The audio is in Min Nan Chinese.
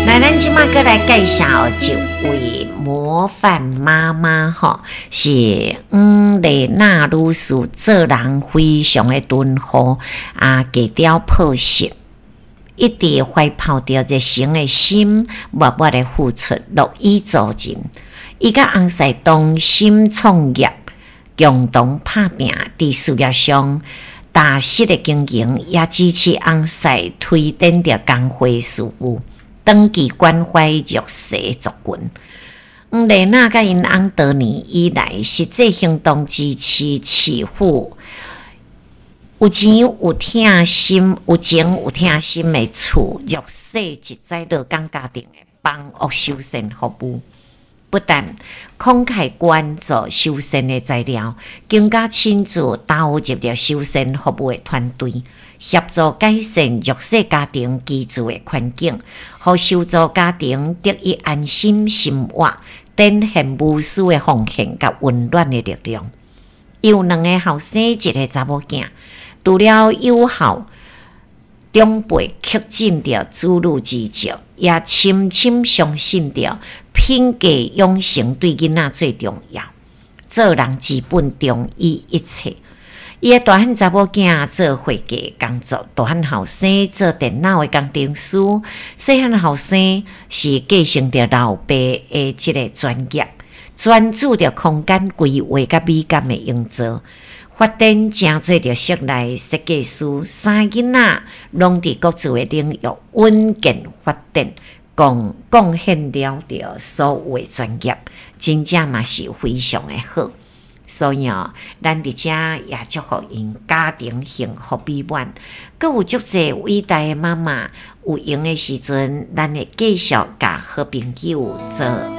來，咱這馬閣來介紹一位模範媽媽吼，是黃麗娜女士，做人非常的敦厚啊，低調樸實，一直懷抱著熱誠的心，默默的付出，樂於助人。伊佮翁婿同心創業，共同拍拚，佇事業上踏實的經營，也支持翁婿推展著工會事務，長期關懷弱勢族群。黃麗娜佮𪜶翁多年以來，實際行動支持市府有錢有疼心、有情有疼心的厝弱勢一災樂工家庭的房屋修繕服務。不但慷慨捐助修繕的材料，更加親自投入著修繕服務的團隊，協助改善弱勢家庭居住的環境，予受助家庭得以安心生活，展現無私的奉獻佮溫暖的力量。伊有兩个後生，一个查某囝。除了有孝長輩恪盡著子女之責，也深深相信著品格養成對囡仔最重要。做人之本，重於一切。伊的大漢查某囝做會計工作，大漢後生做電腦的工程師，細漢後生是繼承著老爸的這个專業，專注著空間規劃佮美感的營造。發展成做著室內設計師，三个囡仔攏佇各自的領域穩健發展，貢貢獻了著所有的專業，真正嘛是非常的好。所以哦，咱佇遮也祝福𪜶家庭幸福美滿。閣有足濟偉大的媽媽，有閒的時陣，咱會繼續共好朋友做。